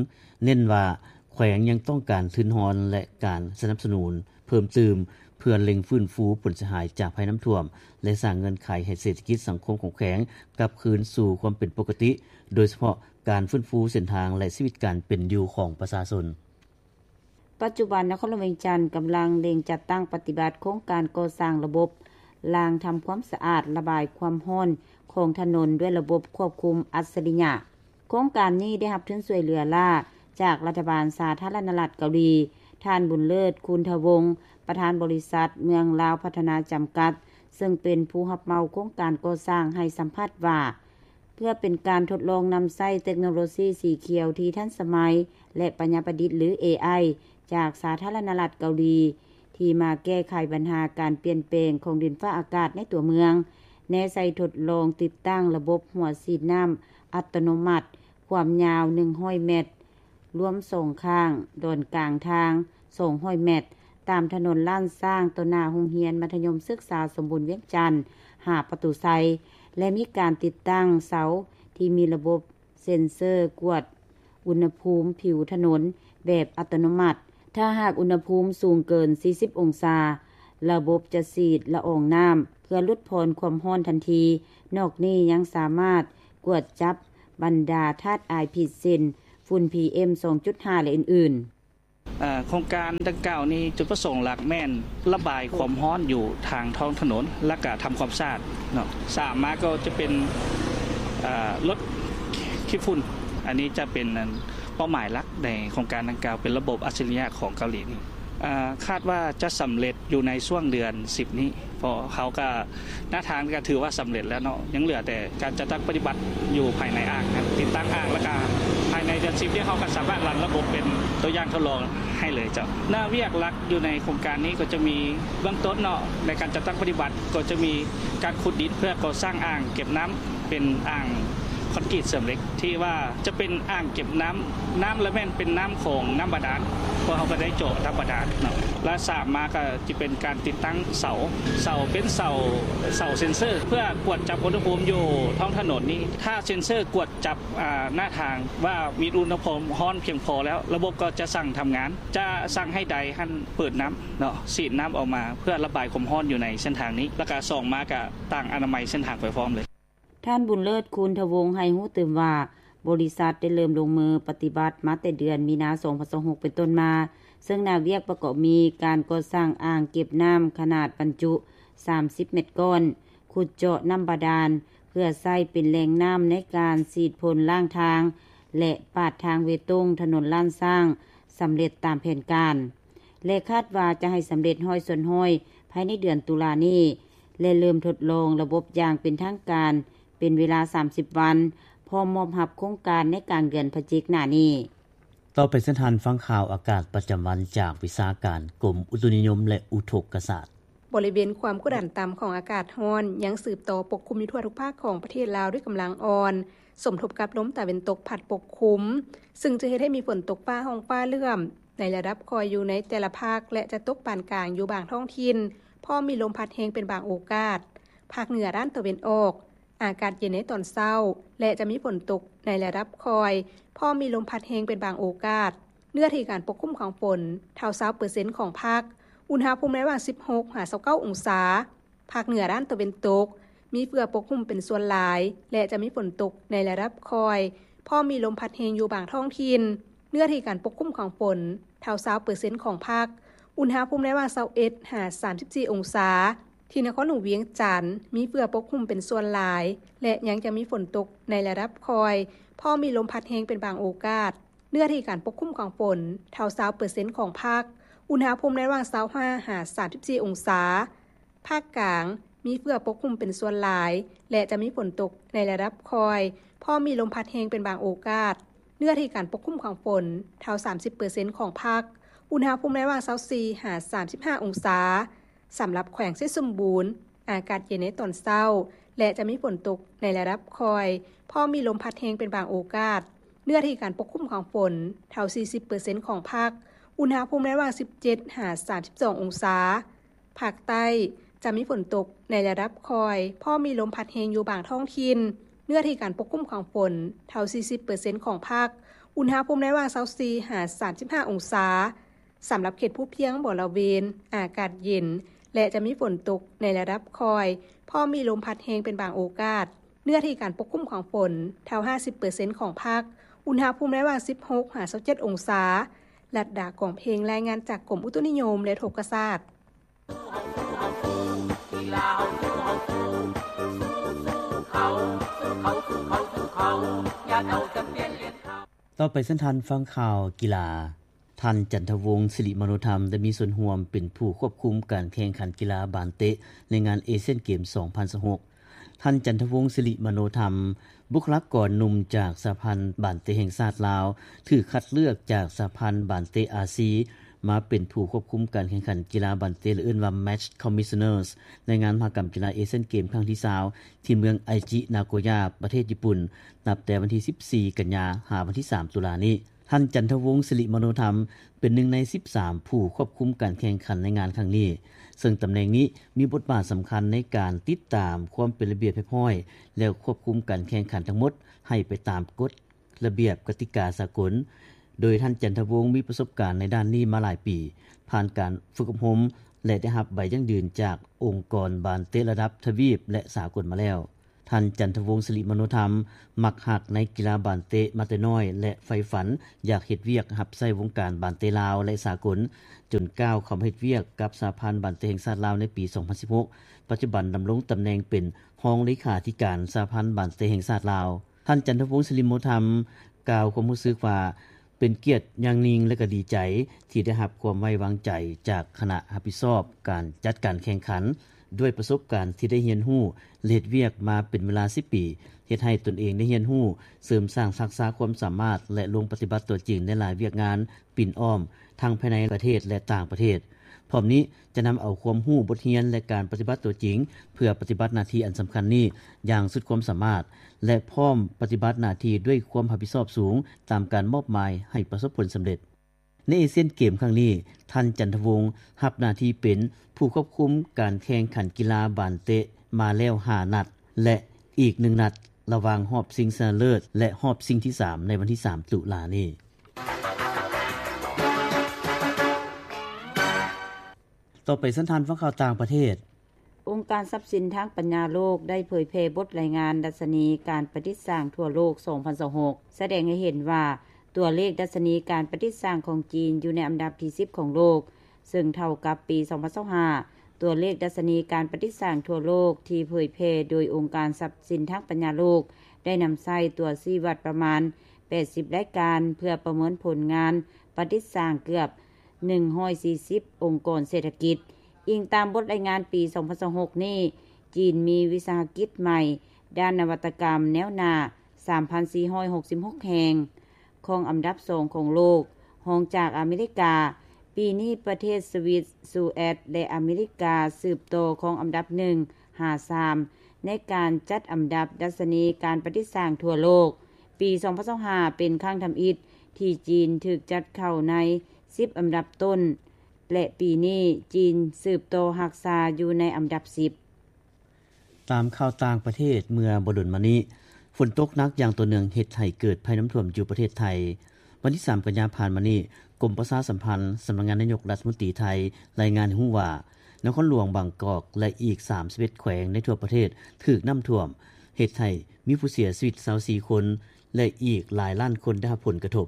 ເນັ້ນວ່າແຂວງຍັງຕ້ອງການທຶນຮອນ ແລະ ການສະໜັບສະໜູນ ເພີ່ມຕື່ມ ເພື່ອເລັ່ງຟື້ນຟູຜົນເສຍຫາຍຈາກໄພນ້ຳຖ້ວມ ແລະ ສ້າງເງື່ອນໄຂໃຫ້ເສດຖະກິດສັງຄົມຂອງແຂວງກັບຄືນສູ່ຄວາມເປັນປົກກະຕິ, ໂດຍສະເພາະການຟື້ນຟູເສັ້ນທາງ ແລະ ຊີວິດການເປັນຢູ່ຂອງປະຊາຊົນ. ປັດຈຸບັນ ນະຄອນຫຼວງວຽງຈັນກຳລັງເລັ່ງຈັດຕັ້ງປະຕິບັດໂຄງການກໍ່ສ້າງລະບົບລ້າງທຳຄວາມສະອາດ ລະບາຍຄວາມຮ້ອນຂອງຖະໜົນດ້ວຍລະບົບຄວບຄຸມອັດສະລິຍະ. ໂຄງການນີ້ໄດ້ຮັບທຶນຊ່ວຍເຫຼືອລ້າຈາກລັດຖະບານສາທາລະນະລັດເກົາຫຼີ. ທ່ານ ບຸນເລີດ ຄູນທະວົງ ປະທານບໍລິສັດເມືອງລາວພັດທະນາຈຳກັດ ເຊິ່ງເປັນຜູ້ຮັບເໝົາໂຄງການກໍ່ສ້າງ ໃຫ້ສຳພາດວ່າ ເພື່ອເປັນການທົດລອງນຳໃຊ້ເຕັກໂນໂລຊີສີຂຽວທີ່ທັນສະໄໝ ແລະ ປັນຍາປະດິດ ຫຼື ເອໄອ ຈາກສາທາລະນະລັດເກົາຫຼີ ທີ່ມາແກ້ໄຂບັນຫາການປ່ຽນແປງຂອງດິນຟ້າອາກາດໃນຕົວເມືອງ, ແນໃສ່ທົດລອງຕິດຕັ້ງລະບົບຫົວສີດນ້ຳອັດຕະໂນມັດ ຄວາມຍາວໜຶ່ງຮ້ອຍແມັດ, ລວມສອງຂ້າງ, ດອນກາງທາງສອງຮ້ອຍແມັດ, ຕາມຖະໜົນລ້ານຊ້າງ ຕໍ່ໜ້າໂຮງຮຽນມັດທະຍົມສຶກສາສົມບູນວຽງຈັນ ຫ້າປະຕູໄຊ ແລະ ມີການຕິດຕັ້ງເສົາທີ່ມີລະບົບ ເຊັນເຊີກວດອຸນຫະພູມຜິວຖະໜົນແບບອັດຕະໂນມັດ. ຖ້າຫາກອຸນຫະພູມສູງເກີນສີ່ສິບອົງສາ, ລະບົບຈະສີດລະອອງນ້ຳເພື່ອຫຼຸດຜ່ອນຄວາມຮ້ອນທັນທີ. ນອກນີ້ຍັງສາມາດກວດຈັບ ບັນດາທາດອາຍພິດເຊັ່ນ ຝຸ່ນ ພີເອັມ ສອງຈຸດຫ້າ ແລະ ອື່ນໆ. ເອີ່ ໂຄງການດັ່ງກ່າວນີ້ ຈຸດປະສົງຫຼັກແມ່ນລະບາຍຄວາມຮ້ອນຢູ່ທາງທ້ອງຖະໜົນ ແລະກະທຳຄວາມສະອາດເນາະ. ສາມມາກໍຈະເປັນ ເອີ່ ລົດຂີ້ຝຸ່ນ. ອັນນີ້ຈະເປັນ ອັນ ເປົ້າໝາຍຫຼັກໃນໂຄງການດັ່ງກ່າວ ເປັນລະບົບອັດສະລິຍະຂອງເກົາຫຼີນີ້. ເອີ່ ຄາດວ່າຈະສຳເລັດຢູ່ໃນຊ່ວງເດືອນສິບນີ້ ເພາະເຮົາກະ ໜ້າທາງກະຖືວ່າສຳເລັດແລ້ວເນາະ, ຍັງເຫຼືອແຕ່ການຈັດຕັ້ງປະຕິບັດຢູ່ພາຍໃນອ່າງ, ຕິດຕັ້ງອ່າງ ແລ້ວກະພາຍໃນເດືອນສິບນີ້ ເຮົາກະສາມາດລັນລະບົບເປັນຕົວຢ່າງທົດລອງໃຫ້ເລີຍເຈົ້າ. ໜ້າວຽກຫຼັກຢູ່ໃນໂຄງການນີ້ກໍຈະມີເບື້ອງຕົ້ນເນາະ, ໃນການຈັດຕັ້ງປະຕິບັດກໍຈະມີການຂຸດດິນເພື່ອກໍ່ສ້າງອ່າງເກັບນ້ຳ ເປັນອ່າງຄອນກຣີດເສີມເຫຼັກ ທີ່ວ່າຈະເປັນອ່າງເກັບນ້ຳ, ນ້ຳລະແມ່ນເປັນນ້ຳຂອງນ້ຳບາດານ, ເພາະເຮົາກໍໄດ້ເຈາະນ້ຳບາດານເນາະ. ແລະສາມມາກໍຈະເປັນການຕິດຕັ້ງເສົາ, ເສົາເປັນເສົາ, ເສົາເຊັນເຊີ ເພື່ອກວດຈັບອຸນຫະພູມຢູ່ທ້ອງຖະໜົນນີ້. ຖ້າເຊັນເຊີກວດຈັບ ອາ ໜ້າທາງວ່າມີອຸນຫະພູມຮ້ອນພຽງພໍແລ້ວ, ລະບົບກໍຈະສັ່ງທຳງານ, ຈະສັ່ງໃຫ້ໃດຫັ້ນເປີດນ້ຳເນາະ, ສີດນ້ຳອອກມາເພື່ອລະບາຍຄວາມຮ້ອນຢູ່ໃນເສັ້ນທາງນີ້, ແລ້ວກະສອງມາກະຕັ້ງອະນາໄມເສັ້ນທາງໄປພ້ອມເລີຍ. ທ່ານ ບຸນເລີດ ຄູນທະວົງ ໃຫ້ຮູ້ຕື່ມວ່າ ບໍລິສັດໄດ້ເລີ່ມລົງມືປະຕິບັດມາແຕ່ເດືອນມີນາ ສອງພັນຊາວຫົກ ເປັນຕົ້ນມາ, ເຊິ່ງໜ້າວຽກປະກອບມີການກໍ່ສ້າງອ່າງເກັບນ້ຳຂະໜາດບັນຈຸສາມສິບແມັດກ້ອນ, ຂຸດເຈາະນ້ຳບາດານ ເພື່ອໃຊ້ເປັນແຫຼ່ງນ້ຳໃນການສີດຝົນລ້າງທາງ ແລະ ປາດທາງເບຕົງຖະໜົນລ້ານຊ້າງ ສຳເລັດຕາມແຜນການ ແລະ ຄາດວ່າຈະໃຫ້ສຳເລັດຮ້ອຍສ່ວນຮ້ອຍ ພາຍໃນເດືອນຕຸລານີ້ ແລະ ເລີ່ມທົດລອງລະບົບຢ່າງເປັນທາງການເປັນເວລາສາມສິບວັນ, ພ້ອມມອບຮັບໂຄງການໃນກາງເດືອນພະຈິກໜ້ານີ້. ຕໍ່ໄປເຊີນທ່ານຟັງຂ່າວອາກາດປະຈຳວັນຈາກວິຊາການກົມອຸຕຸນິຍົມ ແລະ ອຸທົກກະສາດ. ບໍລິເວນຄວາມກົດດັນຕ່ຳຂອງອາກາດຮ້ອນຍັງສືບຕໍ່ປົກຄຸມຢູ່ທົ່ວທຸກພາກຂອງປະເທດລາວດ້ວຍກຳລັງອ່ອນ, ສົມທົບກັບລົມຕາເວັນຕົກພັດປົກຄຸມ, ເຊິ່ງຈະເຮັດໃຫ້ມີຝົນຕົກຟ້າຮ້ອງຟ້າເຫຼື້ອມໃນລະດັບຄ່ອຍຢູ່ໃນແຕ່ລະພາກ ແລະ ຈະຕົກປານກາງຢູ່ບາງທ້ອງຖິ່ນ, ພ້ອມມີລົມພັດແຮງເປັນບາງໂອກາດ. ພາກເໜືອດ້ານຕາເວັນອອກ ອາກາດເຢັນໃນຕອນເຊົ້າ ແລະ ຈະມີຝົນຕົກໃນລະດັບຄ່ອຍ, ພ້ອມມີລົມພັດແຮງເປັນບາງໂອກາດ. ເນື້ອທີ່ການປົກຄຸມຂອງຝົນ ເທົ່າຊາວເປີເຊັນຂອງພາກ, ອຸນຫະພູມໃນລະຫວ່າງສິບຫົກຫາຊາວເກົ້າອົງສາ. ພາກເໜືອດ້ານຕາເວັນຕົກ ມີເຝື້ອປົກຄຸມເປັນສ່ວນຫຼາຍ ແລະ ຈະມີຝົນຕົກໃນລະດັບຄ່ອຍ, ພ້ອມມີລົມພັດແຮງຢູ່ບາງທ້ອງຖິ່ນ. ເນື້ອທີ່ການປົກຄຸມຂອງຝົນ ເທົ່າຊາວເປີເຊັນຂອງພາກ, ອຸນຫະພູມໃນລະຫວ່າງຊາວເອັດຫາສາມສິບສີ່ອົງສາ. ທີ່ນະຄອນຫຼວງວຽງຈັນ ມີເຝື້ອປົກຄຸມເປັນສ່ວນຫຼາຍ ແລະ ຍັງຈະມີຝົນຕົກໃນລະດັບຄ່ອຍ, ພ້ອມມີລົມພັດແຮງເປັນບາງໂອກາດ. ເນື້ອທີ່ການປົກຄຸມຂອງຝົນ ເທົ່າຊາວເປີເຊັນຂອງພາກ, ອຸນຫະພູມໃນລະຫວ່າງຊາວຫ້າຫາສາມສິບສີ່ອົງສາ. ພາກກາງ ມີເຝື້ອປົກຄຸມເປັນສ່ວນຫຼາຍ ແລະ ຈະມີຝົນຕົກໃນລະດັບຄ່ອຍ, ພ້ອມມີລົມພັດແຮງເປັນບາງໂອກາດ. ເນື້ອທີ່ການປົກຄຸມຂອງຝົນ ເທົ່າສາມສິບເປີເຊັນຂອງພາກ, ອຸນຫະພູມໃນລະຫວ່າງຊາວສີ່ຫາສາມສິບຫ້າອົງສາ. ສຳລັບແຂວງໄຊສົມບູນ ອາກາດເຢັນໃນຕອນເຊົ້າ ແລະ ຈະມີຝົນຕົກໃນລະດັບຄ່ອຍ, ພ້ອມມີລົມພັດແຮງເປັນບາງໂອກາດ. ເນື້ອທີ່ການປົກຄຸມຂອງຝົນ ເທົ່າສີ່ສິບເປີເຊັນຂອງພາກ, ອຸນຫະພູມໃນລະຫວ່າງສິບເຈັດຫາສາມສິບສອງອົງສາ. ພາກໃຕ້ ຈະມີຝົນຕົກໃນລະດັບຄ່ອຍ, ພ້ອມມີລົມພັດແຮງຢູ່ບາງທ້ອງຖິ່ນ. ເນື້ອທີ່ການປົກຄຸມຂອງຝົນ ເທົ່າສີ່ສິບເປີເຊັນຂອງພາກ, ອຸນຫະພູມໃນລະຫວ່າງຊາວສີ່ຫາສາມສິບຫ້າອົງສາ. ສຳລັບເຂດພູພຽງບໍລະເວນ ອາກາດເຢັນ ແລະ ຈະມີຝົນຕົກໃນລະດັບຄ່ອຍ, ພ້ອມມີລົມພັດແຮງເປັນບາງໂອກາດ. ເນື້ອທີ່ການປົກຄຸມຂອງຝົນ ເທົ່າຫ້າສິບເປີເຊັນຂອງພາກ, ອຸນຫະພູມໃນລະຫວ່າງສິບຫົກຫາຊາວເຈັດອົງສາ. ລັດດາ ກອງເພັງ ລາຍງານຈາກກົມອຸຕຸນິຍົມ ແລະ ອຸທົກກະສາດ. ຕໍ່ໄປເຊີນທ່ານຟັງຂ່າວກິລາ. ທ່ານ ຈັນທະວົງ ສິລິມະໂນທຳ ໄດ້ມີສ່ວນຮ່ວມເປັນຜູ້ຄວບຄຸມການແຂ່ງຂັນກິລາບານເຕະໃນງານເອຊຽນເກມສອງພັນຊາວຫົກ. ທ່ານ ຈັນທະວົງ ສິລິມະໂນທຳ ບຸກຄະລາກອນໜຸ່ມຈາກສະຫະພັນບານເຕະແຫ່ງຊາດລາວ, ຖືກຄັດເລືອກຈາກສະຫະພັນບານເຕະອາຊີ ມາເປັນຜູ້ຄວບຄຸມການແຂ່ງຂັນກິລາບານເຕະ ຫຼື ເອີ້ນວ່າ Match Commissioners ໃນງານມະຫະກຳກິລາເອຊຽນເກມຄັ້ງທີຊາວ ທີ່ເມືອງໄອຈິ ນາໂກຢາ ປະເທດຍີ່ປຸ່ນ ນັບແຕ່ວັນທີສິບສີ່ ກັນຍາ ຫາວັນທີສາມ ຕຸລານີ້. ທ່ານ ຈັນທະວົງ ສິລິມະໂນທຳ ເປັນໜຶ່ງໃນສິບສາມຜູ້ຄວບຄຸມການແຂ່ງຂັນໃນງານຄັ້ງນີ້, ເຊິ່ງຕຳແໜ່ງນີ້ມີບົດບາດສຳຄັນໃນການຕິດຕາມຄວາມເປັນລະບຽບຮຽບຮ້ອຍ ແລະ ຄວບຄຸມການແຂ່ງຂັນທັງໝົດໃຫ້ໄປຕາມກົດລະບຽບກະຕິກາສາກົນ, ໂດຍທ່ານ ຈັນທະວົງ ມີປະສົບການໃນດ້ານນີ້ມາຫຼາຍປີ, ຜ່ານການຝຶກອົບຮົມ ແລະ ໄດ້ຮັບໃບຢັ້ງຢືນຈາກອົງກອນບານເຕະລະດັບທະວີບ ແລະ ສາກົນມາແລ້ວ. ທ່ານ ຈັນທະວົງ ສິລິມະໂນທຳ ມັກຮັກໃນກິລາບານເຕະມາແຕ່ນ້ອຍ ແລະ ໃຝ່ຝັນຢາກເຮັດວຽກຮັບໃຊ້ວົງການບານເຕະລາວ ແລະ ສາກົນ, ຈົນກ້າວເຂົ້າມາເຮັດວຽກກັບສະຫະພັນບານເຕະແຫ່ງຊາດລາວໃນປີສອງພັນສິບຫົກ, ປັດຈຸບັນດຳລົງຕຳແໜ່ງເປັນຮອງເລຂາທິການສະຫະພັນບານເຕະແຫ່ງຊາດລາວ. ທ່ານ ຈັນທະວົງ ສິລິມະໂນທຳ ກ່າວຄວາມຮູ້ສຶກວ່າ ເປັນກຽດຢ່າງຍິ່ງ ແລະ ກໍດີໃຈທີ່ໄດ້ຮັບຄວາມໄວ້ວາງໃຈຈາກຄະນະຮັບຜິດຊອບການຈັດການແຂ່ງຂັນ. ດ້ວຍປະສົບການທີ່ໄດ້ຮຽນຮູ້ ແລະ ເຮັດວຽກມາເປັນເວລາສິບປີ ເຮັດໃຫ້ຕົນເອງໄດ້ຮຽນຮູ້, ເສີມສ້າງທັກສະຄວາມສາມາດ ແລະ ລົງປະຕິບັດຕົວຈິງໃນຫຼາຍວຽກງານປິ່ນອ້ອມ ທັງພາຍໃນປະເທດ ແລະ ຕ່າງປະເທດ. ພ້ອມນີ້ຈະນຳເອົາຄວາມຮູ້, ບົດຮຽນ ແລະ ການປະຕິບັດຕົວຈິງ ເພື່ອປະຕິບັດໜ້າທີ່ອັນສຳຄັນນີ້ຢ່າງສຸດຄວາມສາມາດ ແລະ ພ້ອມປະຕິບັດໜ້າທີ່ດ້ວຍຄວາມຮັບຜິດຊອບສູງຕາມການມອບໝາຍໃຫ້ປະສົບຜົນສຳເລັດ. ໃນເອຊຽນເກມຄັ້ງນີ້, ທ່ານ ຈັນທະວົງ ຮັບໜ້າທີ່ເປັນຜູ້ຄວບຄຸມການແຂ່ງຂັນກິລາບານເຕະມາແລ້ວຫ້ານັດ ແລະ ອີກໜຶ່ງນັດ ລະຫວ່າງຮອບຊິງຊະນະເລີດ ແລະ ຮອບຊິງທີສາມ ໃນວັນທີສາມ ຕຸລານີ້. ຕໍ່ໄປເຊີນທ່ານຟັງຂ່າວຕ່າງປະເທດ. ອົງການຊັບສິນທາງປັນຍາໂລກໄດ້ເຜີຍແຜ່ບົດລາຍງານດັດຊະນີການປະດິດສ້າງທົ່ວໂລກສອງພັນຊາວຫົກ ສະແດງໃຫ້ເຫັນວ່າ ຕົວເລກດັດຊະນີການປະດິດສ້າງຂອງຈີນຢູ່ໃນອັນດັບທີສິບຂອງໂລກ, ເຊິ່ງເທົ່າກັບປີສອງພັນຊາວຫ້າ ຕົວເລກດັດຊະນີການປະດິດສ້າງທົ່ວໂລກທີ່ເຜີຍແຜ່ໂດຍອົງການຊັບສິນທາງປັນຍາໂລກ ໄດ້ນຳໃຊ້ຕົວຊີ້ວັດປະມານແປດສິບລາຍການ ເພື່ອປະເມີນຜົນງານປະດິດສ້າງເກືອບ ໜຶ່ງຮ້ອຍສີ່ສິບອົງກອນເສດຖະກິດ. ອີງຕາມບົດລາຍງານປີສອງພັນຊາວຫົກນີ້, ຈີນມີວິສາຫະກິດໃໝ່ດ້ານນະວັດຕະກຳແນວໜ້າ ສາມພັນສີ່ຮ້ອຍຫົກສິບຫົກແຫ່ງ, ຄອງອັນດັບສອງຂອງໂລກ, ຮອງຈາກອາເມລິກາ. ປີນີ້ປະເທດສະວິດ, ສະຫວັດ ແລະ ອາເມລິກາສືບຕໍ່ຄອງອັນດັບໜຶ່ງຫາສາມ ໃນການຈັດອັນດັບດັດຊະນີການປະດິດສ້າງທົ່ວໂລກ. ປີສອງພັນຊາວຫ້າເປັນຄັ້ງທຳອິດທີ່ຈີນຖືກຈັດເຂົ້າໃນສິບອັນດັບຕົ້ນ ແລະ ປີນີ້ຈີນສືບຕໍ່ຮັກສາຢູ່ໃນອັນດັບສິບ. ຕາມຂ່າວຕ່າງປະເທດ, ເມື່ອບໍ່ດົນມານີ້, ຝົນຕົກໜັກຢ່າງຕໍ່ເນື່ອງເຮັດໃຫ້ເກີດໄພນ້ຳຖ້ວມຢູ່ປະເທດໄທ. ວັນທີສາມ ກັນຍາຜ່ານມານີ້, ກົມປະຊາສຳພັນ ສຳນັກງານນາຍົກລັດຖະມົນຕີໄທ ລາຍງານໃຫ້ຮູ້ວ່າ ນະຄອນຫຼວງບາງກອກ ແລະ ອີກສາມສິບເອັດແຂວງໃນທົ່ວປະເທດຖືກນ້ຳຖ້ວມ, ເຮັດໃຫ້ມີຜູ້ເສຍຊີວິດຊາວສີ່ຄົນ ແລະ ອີກຫຼາຍລ້ານຄົນໄດ້ຮັບຜົນກະທົບ.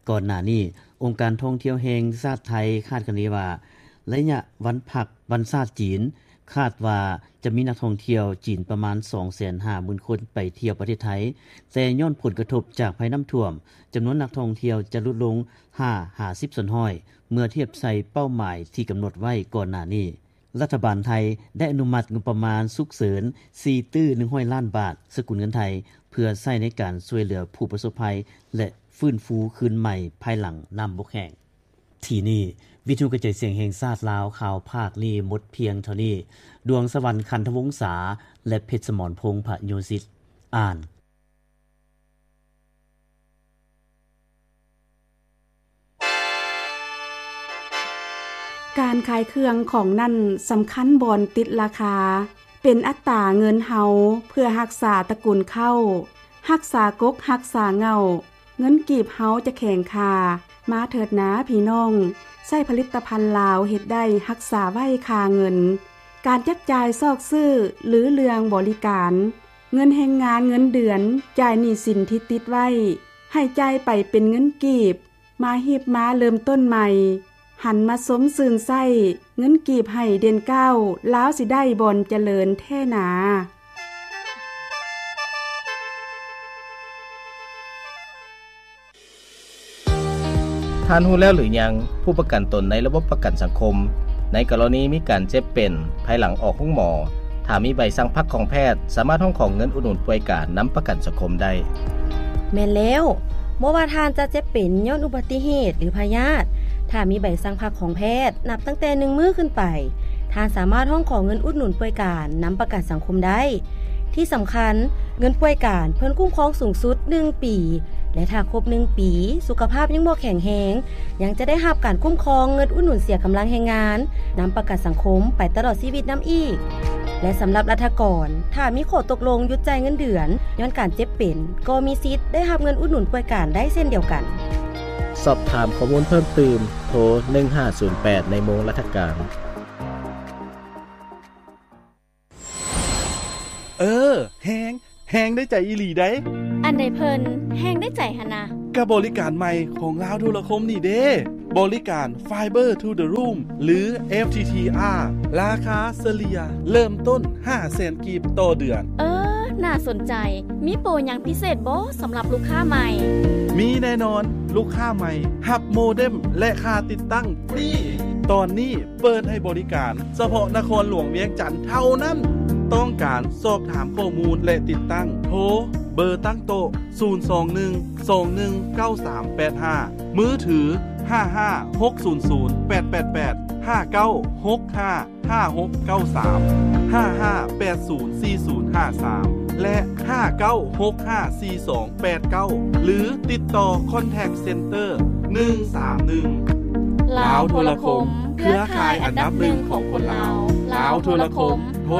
ກ່ອນໜ້ານີ້, ອົງການທ່ອງທ່ຽວແຫ່ງຊາດໄທຄາດຄະເນວ່າ ໄລຍະວັນພັກວັນຊາດຈີນ, ຄາດວ່າຈະມີນັກທ່ອງທ່ຽວຈີນປະມານສອງແສນຫ້າໝື່ນຄົນໄປທ່ຽວປະເທດໄທ, ແຕ່ຍ້ອນຜົນກະທົບຈາກໄພນ້ຳຖ້ວມ, ຈຳນວນນັກທ່ອງທ່ຽວຈະຫຼຸດລົງຫ້າຫາສິບສ່ວນຮ້ອຍ ເມື່ອທຽບໃສ່ເປົ້າໝາຍທີ່ກຳນົດໄວ້ກ່ອນໜ້ານີ້. ລັດຖະບານໄທໄດ້ອະນຸມັດງົບປະມານສຸກເສີນສີ່ຕື້ໜຶ່ງຮ້ອຍລ້ານບາດສະກຸນເງິນໄທ ເພື່ອໃຊ້ໃນການຊ່ວຍເຫຼືອຜູ້ປະສົບໄພ ແລະ ຟື້ນຟູຄືນໃໝ່ພາຍຫຼັງນ້ຳບົກແຫ້ງ. ທີ່ນີ້, ວິທະຍຸກະຈາຍສຽງແຫ່ງຊາດລາວ ຂ່າວພາກນີ້ໝົດພຽງເທົ່ານີ້. ດວງສະຫວັນ ຄັນທະວົງສາ ແລະ ເພັດສະໝອນພົງ ພະໂຍສິດ ອ່ານ. ການຂາຍເຄື່ອງຂອງນັ້ນສຳຄັນບ່ອນຕິດລາຄາ, ເປັນອັດຕາເງິນເຮົາເພື່ອຮັກສາຕະກຸນເຂົ້າ, ຮັກສາກົກຮັກສາເຫງົ້າ, ເງິນກີບເຮົາຈະແຂງຄ່າ. ມາເຖີດນາພີ່ນ້ອງ, ໃຊ້ຜະລິດຕະພັນລາວເຮັດໄດ້ຮັກສາໄວ້ຄ່າເງິນ. ການຈັບຈ່າຍຊອກຊື້ ຫຼື ເລື່ອງບໍລິການ, ເງິນແຮງງານເງິນເດືອນ, ຈ່າຍໜີ້ສິນທີ່ຕິດໄວ້, ໃຫ້ຈ່າຍໄປເປັນເງິນກີບ, ມາຮີບມາເລີ່ມຕົ້ນໃໝ່, ຫັນມາຊົມຊື່ນໃຊ້, ເງິນກີບໃຫ້ເດັ່ນກ້າວ, ລາວຊິໄດ້ບ່ອນຈະເລີນແທ້ໜາ. ທ່ານຮູ້ແລ້ວຫຼືຍັງ? ຜູ້ປະກັນຕົນໃນລະບົບປະກັນສັງຄົມ ໃນກໍລະນີມີການເຈັບເປັນ ພາຍຫຼັງອອກໂຮງໝໍ, ຖ້າມີໃບສັ່ງພັກຂອງແພດ, ສາມາດຮ້ອງຂໍເງິນອຸດໜູນປ່ວຍການນຳປະກັນສັງຄົມໄດ້. ແມ່ນແລ້ວ, ບໍ່ວ່າທ່ານຈະເຈັບເປັນຍ້ອນອຸບັດຕິເຫດ ຫຼື ພະຍາດ, ຖ້າມີໃບສັ່ງພັກຂອງແພດ ນັບຕັ້ງແຕ່ໜຶ່ງມື້ຂຶ້ນໄປ, ທ່ານສາມາດຮ້ອງຂໍເງິນອຸດໜູນປ່ວຍການນຳປະກັນສັງຄົມໄດ້. ທີ່ສຳຄັນ, ເງິນປ່ວຍການເພິ່ນຄຸ້ມຄອງສູງສຸດໜຶ່ງປີ ແລະ ຖ້າຄົບໜຶ່ງປີ ສຸຂະພາບຍັງບໍ່ແຂງແຮງ, ຍັງຈະໄດ້ຮັບການຄຸ້ມຄອງເງິນອຸດໜູນເສຍກຳລັງແຮງງານນຳປະກັນສັງຄົມໄປຕະຫຼອດຊີວິດນຳອີກ. ແລະ ສຳລັບລັດຖະກອນ, ຖ້າມີຂໍ້ຕົກລົງຢຸດຈ່າຍເງິນເດືອນຍ້ອນການເຈັບເປັນ, ກໍມີສິດໄດ້ຮັບເງິນອຸດໜູນປ່ວຍການໄດ້ເຊັ່ນດຽວກັນ. ສອບຖາມຂໍ້ມູນເພີ່ມຕື່ມ, ໂທ ໜຶ່ງຫ້າສູນແປດ ໃນໂມງລັດຖະການ. ເອີ ແຮງ ແຮງໄດ້ໃຈອີ່ຫຼີໃດ໋. ອັນໃດເພິ່ນແຮງໄດ້ໃຈຫັ້ນນະ? ກະບໍລິການໃໝ່ຂອງລາວໂທລະຄົມນີ້ເດ້ ບໍລິການ Fiber to the Room ຫຼື FTTR ລາຄາສະເລ່ຍເລີ່ມຕົ້ນຫ້າແສນກີບຕໍ່ເດືອນ. ເອີ ໜ້າສົນໃຈ. ມີໂປຫຍັງພິເສດບໍ່ສຳລັບລູກຄ້າໃໝ່? ມີແນ່ນອນ, ລູກຄ້າໃໝ່ຮັບໂມເດັມ ແລະ ຄ່າຕິດຕັ້ງຟຣີ. ຕອນນີ້ເປີດໃຫ້ບໍລິການສະເພາະນະຄອນຫຼວງວຽງຈັນເທົ່ານັ້ນ. ຕ້ອງການສອບຖາມຂໍ້ມູນ ແລະ ຕິດຕັ້ງ ໂທເບີຕັ້ງໂຕະ ສູນສອງໜຶ່ງ ສອງໜຶ່ງ ເກົ້າສາມແປດຫ້າ, ມືຖື ຫ້າຫ້າຫົກສູນສູນແປດແປດແປດ, ຫ້າເກົ້າຫົກຫ້າຫ້າຫົກເກົ້າສາມ, ຫ້າຫ້າແປດສູນສີ່ສູນຫ້າສາມ ແລະ ຫ້າເກົ້າຫົກຫ້າສີ່ສອງແປດເກົ້າ ຫຼື ຕິດຕໍ່ Contact Center ໜຶ່ງສາມໜຶ່ງ. ລາວໂທລະຄົມ ເຄືອຂ່າຍອັນດັບໜຶ່ງຂອງຄົນລາວ. ລາວໂທລະຄົມ